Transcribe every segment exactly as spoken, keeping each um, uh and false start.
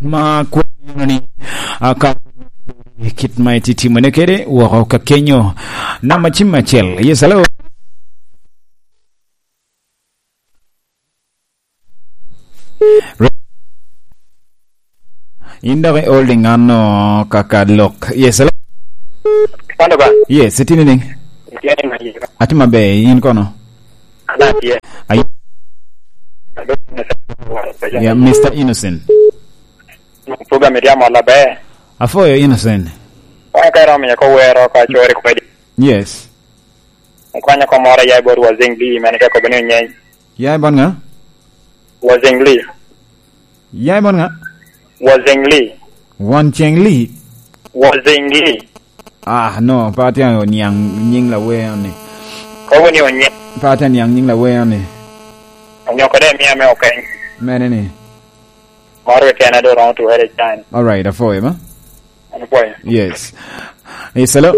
ma kwano ni, a, ka kit ma itye timone kede woko ka kenyo. Namba cim acel. Yes, hello. In dok i holding ano kaka lok. Yes, hello. Kwano ba? Yes, itini ni? Itye ni ma yika. Ati maber, in kono? Ana tye. Ayi. Ado ni sa. Yeah, Mister Innocent. Program iriamo laber. Afoyo Innocent. Kwano ka iromo miyo ko wero ka chori kwedi. Yes. Kwano ko moro ya bot Wazing D, mene ka kobe ni onyeny. Ya i bon nga? Wazing Lee. Ya i bon nga? Wazing Lee. Wan Cheng Lee? Wazing Lee. Ah, no, pa atye oniang nying lawer ni. Kobo ni onye. Pa atye oniang nying lawer ni. Onyo kode mi ame okeny. Mene ni? Moro keken, I don't want to waste time. All right, afoyo, ma? Afoyo. Yes. Yes, hello?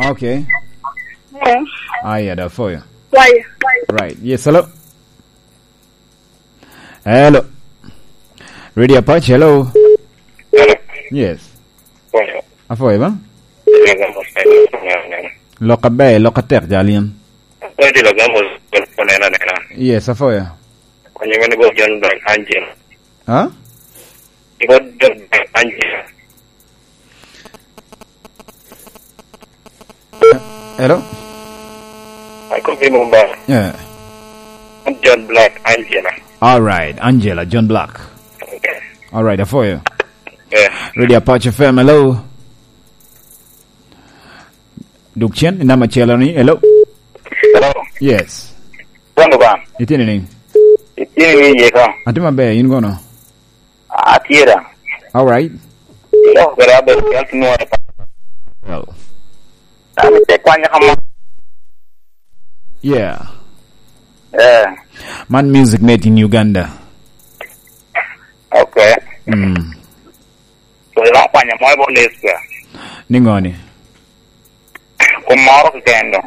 Okay. Eh. Aya, da foyo. Why? Right. Yes, hello. Hello. Radio Apache, hello. Hello. Yes. Foyo. Afoyo ba? Ina gamo sa ina neno neno. Lok aber, lok atek jal in. Afoyo, ina gamo sa ina neno neno. Yes, afoyo. Kwenye mene bo John Black Angel. Ha? Ibo John Black Angel. Hello? I could be Mumbai. Yeah. I'm John Black, Angela. All right, Angela, John Black. Okay. All right, I for you. Yeah. Radio Apache F M, hello. Duk cen, i namba acel ni, hello. Hello. Yes. Kwano ba? Itini ni? Itini ni ye ka? Atye maber, in kono? Atye da. All right. Yo, kara be kel tinu ore pa. Well. Ami te kwanya kama. Yeah. Eh. Man music made in Uganda. Okay. Mm. So, iloko kwanya mo i bo Nesca. Ningo ni? Kummoro keken do.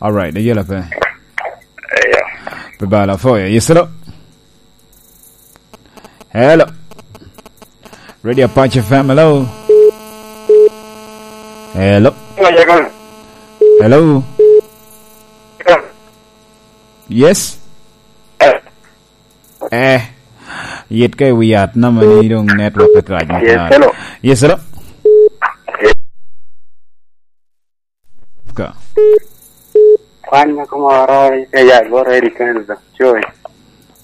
All right, ayela pe. Eyo. Pe bala foyo. Yes, hello. Hello. Radio Apache F M, hello. Hello. Hello. Yes. Eh, yit ka i wi yat, nama ni dong network pe rac. Yes, hello. Yes, hello. Ka. Kwan nyako moro i Yagoro, Eddie Kenzo, Joy.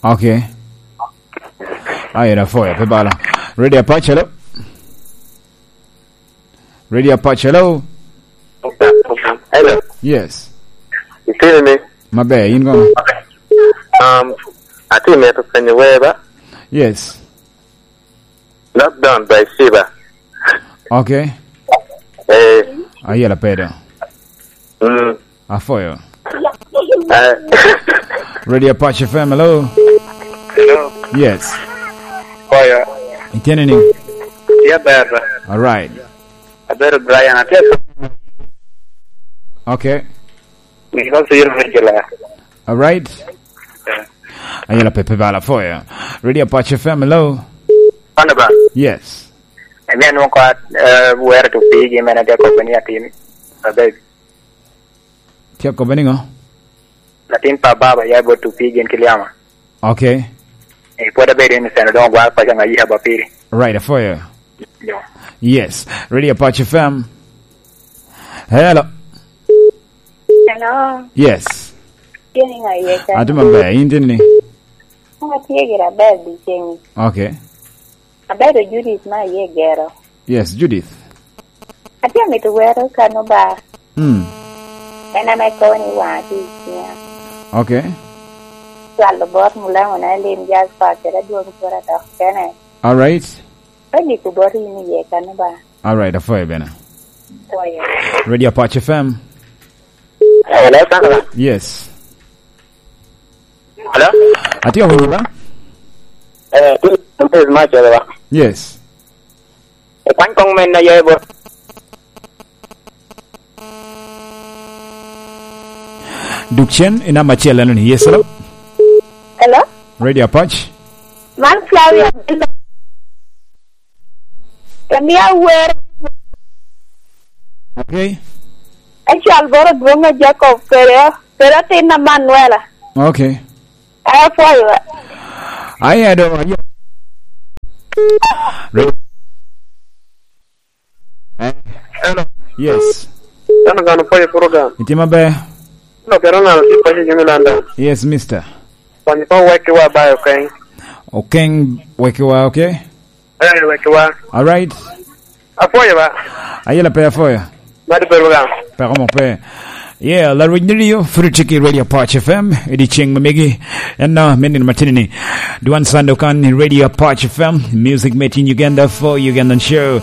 Okay. Aye, da foya, pe bala. Radio Apache, hello. Radio Apache, hello. Hello. Yes. Itino ni? Maber, in kono? Um, atye mito penyo wer ba? Yes. Lockdown by Shiba. Okay. Eh. Ayela pedo. Mm. Afoyo. Eh. Radio Apache F M, hello. Hello. Yes. Foyo. Itene ni? Yeah, baba. All right. Abedo Brian, atye ka. Okay. Nino zero regular. All right. Yeah. Ayela pepe bala foya. Radio Apache F M, hello. Kwano ba? Yes. Emi anwongo ko, eh, wero to pigi, mene atye kobbe ni atin. Abeg. Tye kobbe ni ngo? Latin pa baba ya bot to pigi en Kiliama. Okay. Eh, pwod abedo innocent, dong ogwar paco nga yika ba piri. Right, afoyo. Yo. Yes. Radio Apache F M. Hello. Hello. Yes. Tye ni nga iye ka? Atye maber, in tye ni? An atye gira ber di ceng. Okay. Abedo Judith ma aye gero. Yes, Judith. Atye mito wero kano ba. Mm. En ame kobo ni wanga tye i cinya. Okay. Cwalo bot mulaŋo na lim jazz pa kede adwoŋ cura dok kene. All right. Pe giko bot in iye kano ba. All right, afoyo bene. Afoyo. Radio Apache F M. Hello, Sandra. Yes. Hello? Atye awinyo ba? Eh, tu, tu, tu, ma chalo ba? Yes. E kwany kong men na yaye bot. Duk cen i namba acel eno ni. Yes, hello? Hello? Radio Apac. Man Flavia. Kami awer. Okay. Acal boro dwong a Jacob kere, kere atin a Manuela. Okay. Aya pwoyo. Aya do, aya. Re- Eh, hello. Yes. Ano gano pwoyo program. Itye maber? Ano kero ngano tye pwoyo jami London? Yes, mister. Kwanyo pa wek ki wa ba, okay? Okeng wek ki wa, okay? Eh, wek ki wa. All right. Apwoyo ba. Ayela pe apwoyo. Mad program. Peko mo pe. Yeah, la rweny ni rio, free ticket Radio Apac F M, edi ceng mamegi, en na, menin matini ni. Duan Sando kan ni Radio Apac F M, music made in Uganda for Ugandan show.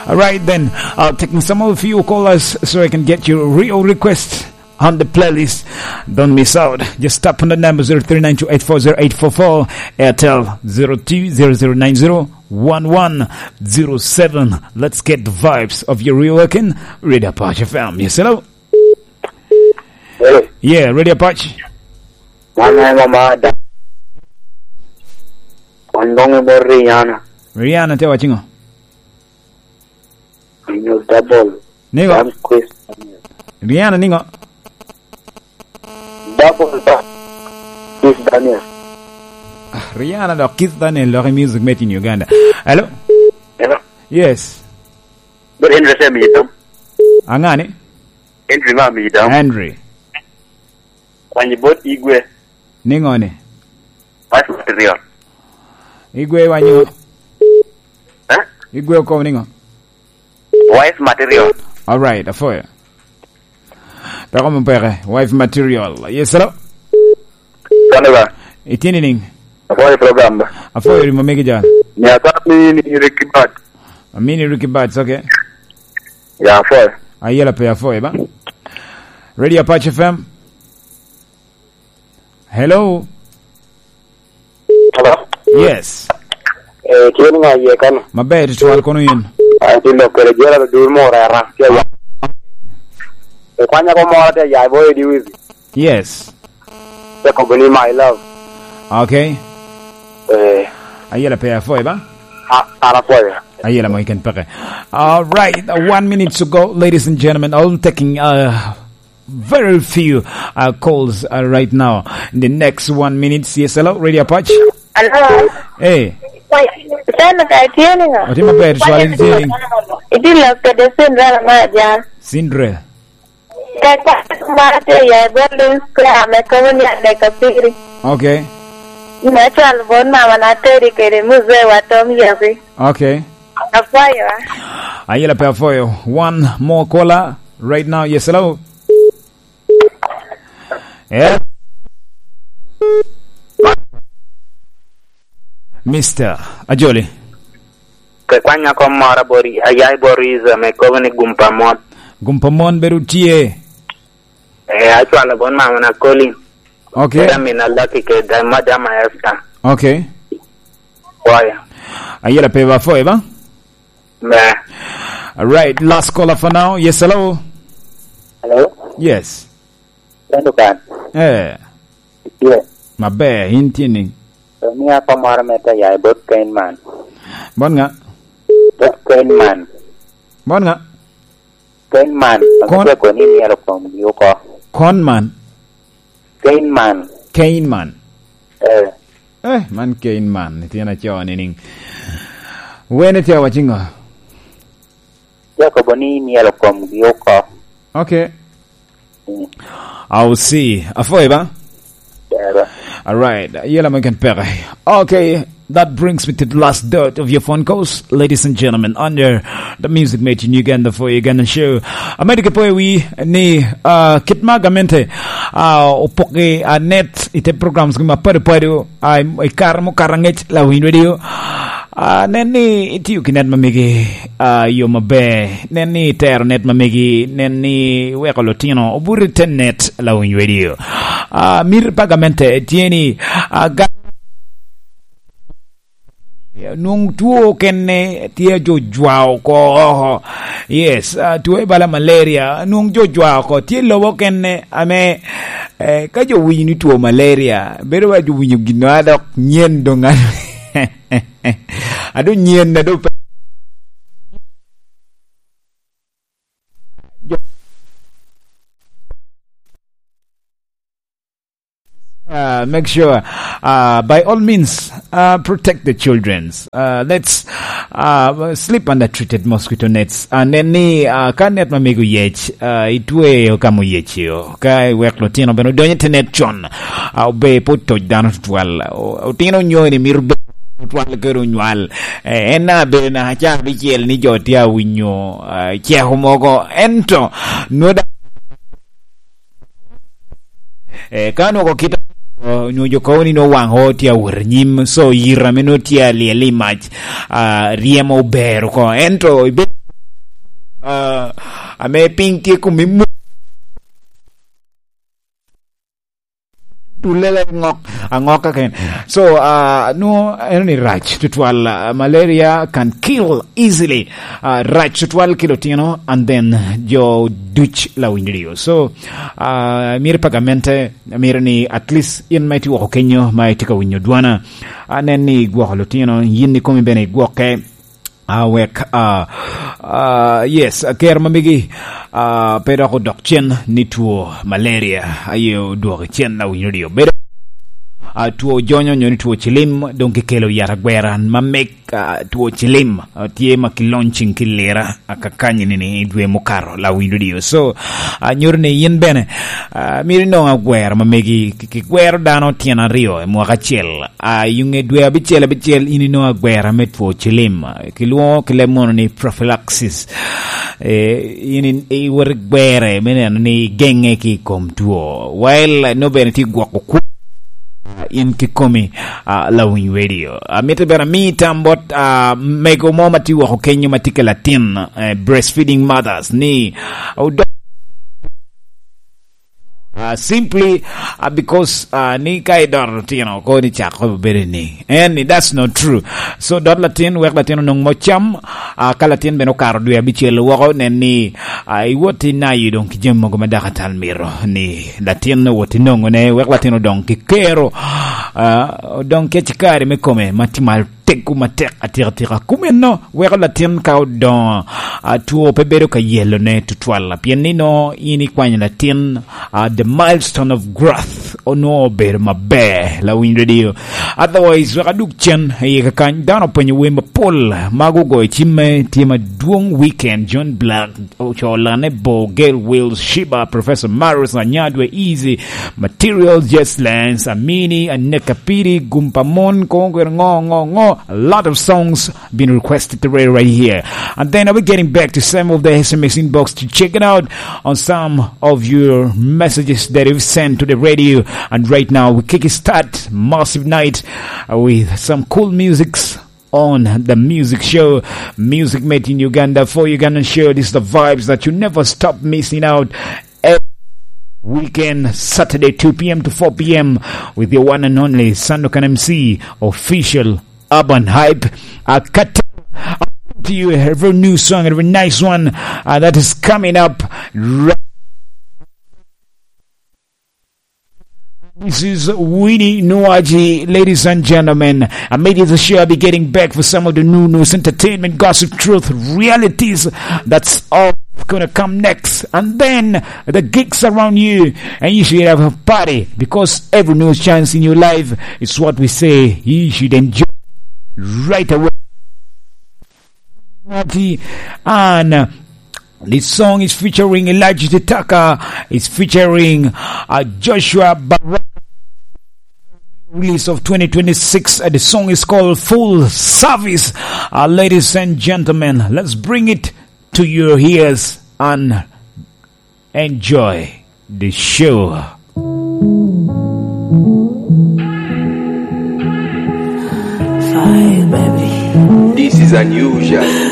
All right then, I'll take some of you callers so I can get your real request on the playlist. Don't miss out. Just tap on the number zero three nine two eight four zero eight four four, Airtel zero two zero zero nine zero one one zero seven. Let's get the vibes of your real working Radio Apac F M. Yes, hello? Hello. Yeah, Radio Apac. Mama, mama, da. Ondong e bor Rihanna. Rihanna te wacingo? Inyo double. Nigo? Dam quiz. Rihanna nigo? Double ba. Quiz Daniel. Ah, Rihanna dok Keith Daniel dok i music made in Uganda. Hello? Hello? Yes. But Henry Sam, you know? Angani? Henry Mam, you know? Henry. Kwanyi bot Igwe. Niŋo ni? Wife material. Igwe wa niŋo? Eh? Igwe okobo niŋo? Wife material. All right, afoyo. Peko mo peke, wife material. Yes, hello? Kane ba? Itini niŋ? Afoyo program ba? Afoyo rimo megi jal. Ni ata mini Ricky Bad. Amini Ricky Bad, okay. Ya, afoyo. Ayela pe afoyo ba? Radio Apache F M. Hello? Hello? Yes. Eh, tye ni ŋa iye kano? Maber, tutwal kono yin. Ah, tye lok kede jela do dur mo rera. Tye ya. E kwanya ko moro tye ya, boy, di wizi. Yes. Tye kobo ni my love. Okay. Eh. Ayela pe afoy ba? Ah, ara foy. Ayela mo iken peke. All right, uh, one minute to go, ladies and gentlemen. I'm taking, uh, very few, uh, calls, uh, right now. In the next one minute, yes, hello, Radio Apache. Hello. Hey. Wait, send the guy to you, you know. Oti maber, swali ni tye. Iti lok kede Cinderella ma aja. Cinderella. Kaka ma te ya, bot Instagram, e komo ni ane ka piri. Okay. Ina chal bon mama na teri kede muzee wa Tom Yesi. Okay. Apoyo, ah. Ayela pe afoyo. One more caller right now. Yes, hello. Yeah. Mister Ajoli. Ke kwanya kom moro bori, ayai bori iza me kobo ni gumpa mon. Gumpa mon bedo tye. Eh, acwalo bon mama na Colin. Okay. Kede amina Lucky kede madam Esther. Okay. Boy. Ayela pe ba foy ba? Me. All right, last caller for now. Yes, hello. Hello? Yes. Kendo kan. Eh. Yes. Maber, in tye niŋ? Mia pa moro me te ya i bot Kenman. Bot ŋa? Bot Kenman. Bot ŋa? Kenman. Kon- Ame tye koni myero komgi oko. Konman? Kenman. Kenman. Eh. Eh, man Kenman, ityen acoo ni niŋ. Wene tye awaci ŋo? Tye akobo ni myero komgi oko. Okay. Mm. I'll see. Afoy ba? Dero. All right. Yela mo ken peke. Okay. That brings me to the last dot of your phone calls, ladies and gentlemen, under the music made in Uganda for Ugandan show. Amedde ke poyo wi ni, uh, kit ma gamente, uh, opoki, uh, net ite programs gi mapadi padi, uh, i kare mo kara ngec la winy radio. Uh, nen ni itiyo ki net mamegi, uh, yo maber. Nen ni itero net mamegi. Nen ni weko lutino obuto i te net la winy radio. Uh, mir pa gamente tye ni, uh, ga- Nwoŋo two okene tye a jo jwa oko oko. Yes, ah, two i bala malaria, nwoŋo jo jwa oko. Tye lobo okene ame, eh, ka jo winyo ni two malaria, bedo wa jo winyo gin a dok nyen doŋ a-, a doŋ nyen a doŋ pe-, jo Uh, make sure, uh, by all means, uh, protect the children's. Uh, let's, uh, sleep under treated mosquito nets. And then ni, uh, ka net ma mego yec, uh, itweyo ka mo yec yo. Ka iwek lutino bene odonyo i te net con, uh, obe pe otoc dano tutwal. O-, otino onyo ni mito bedo tutwal kede onywal. Eh, en na bedo na ca abicel ni jo tye awinyo, uh, ceko mogo. Ento, nwoda Eh, ka onwoŋo kit, eh, onwoŋo jo kobo ni nwoŋo waŋ o tye awot anyim, so yito ame nwoŋo tye alyel i mac, ah, ryemo ober oko. Ento ibe-, ah, ame piny tye kome mu-, tulele ŋok, aŋoka ken. So, ah, nwoŋo eno ni rac tutwal, ah, malaria can kill easily. Ah, rac tutwal ki lutino and then jo duc lawiny ryo. So, ah, myero pa gamente, myero ni at least in ma itye woko kenyo ma itye ka winyo dwana, anen ni igwoko lutino, yin ikomi bene igwokke, ah, wek, ah, ah, yes, ker ma megi, ah, pe dok odok cen ni two malaria, aye odwoko cen lawiny ryo. Bedo, ah, two jonyo nyo ni two cilim, doŋ kikelo yat agwera ma meg ah, two cilim, ah, tye ma ki launching ki lira, ah, kakany ni, ni i dwe mukato, lawiny ryo. So, ah, nyuto ni yin bene, ah, myero inong agwero ma megi, ki, ki gwero dano tyen aryo i mwaka acel. Ah, i ŋe dwe abicel, abicel, in inong agwera me two cilim. Ah, kilwoŋo ki leb mono ni prophylaxis. Eh, in, in, iwot igwere me neno ni igenge ki i kom two. While, no bene tye gwoko kwo in kikomi, ah, lawiny radio. Amito bene ami tam bot, ah, mego mo ma tye woko kenyo ma tye ke latin, eh, breastfeeding mothers ni, ah, odo-, ah, simply, ah, because, ah, ni ka idoro tino ko ni cak ko bedo ni. And that's not true. So dot latin, wek latin onong mo cam, ah, ka latin bene okaro dwe abicel woko, nen ni, ah, iwot inayo doŋ ki jami mogo ma dakatal mito ni latin owot inoŋone, wek latin odoŋ ki kero, ah, odoŋ ki acikari me kome ma tye malo tego matek atika tika. Kumeno weko latin ka odoŋo, ah, two pe bedo ka yelone tutwal, pien ni nongo in ikwanyo latin, ah, the milestone of growth, onwoŋo obedo maber, lawiny radio. Otherwise, wek adug cen i kakany, dano openyo wer mapol, mago ogoyo cimme, tye madwong weekend, John Black, Ocoo Lane, Bo, Gail Wills, Shiba, Professor Marius Anyadwe, Easy, Material, Just Lance, Amini, Aneka Piri, Gumpa Mon, Kongwe, Ngo, Ngo, Ngo. A lot of songs been requested to read right here. And then I'll be getting back to some of the S M S inbox to check it out on some of your messages that you've sent to the radio. And right now, we kick start massive night, uh, with some cool musics on the music show, Music Made in Uganda for Ugandan show. This is the vibes that you never stop missing out. Every weekend, Saturday, two p.m. to four p.m., with your one and only Sandokan M C, official Urban Hype. Uh, Cartel, I'll bring to you every new song, every nice one, uh, that is coming up. This is Winnie Nuaji, ladies and gentlemen. Amid the show, I'll be getting back for some of the new news, entertainment, gossip, truth, realities. That's all gonna come next. And then the gigs around you, and you should have a party, because every news chance in your life is what we say you should enjoy right away. And, uh, this song is featuring Elijah Titaka. It's featuring, uh, Joshua Baraka. Release of twenty twenty-six. Uh, the song is called Full Service. Uh, ladies and gentlemen, let's bring it to your ears and enjoy the show. Fire, baby. This is unusual.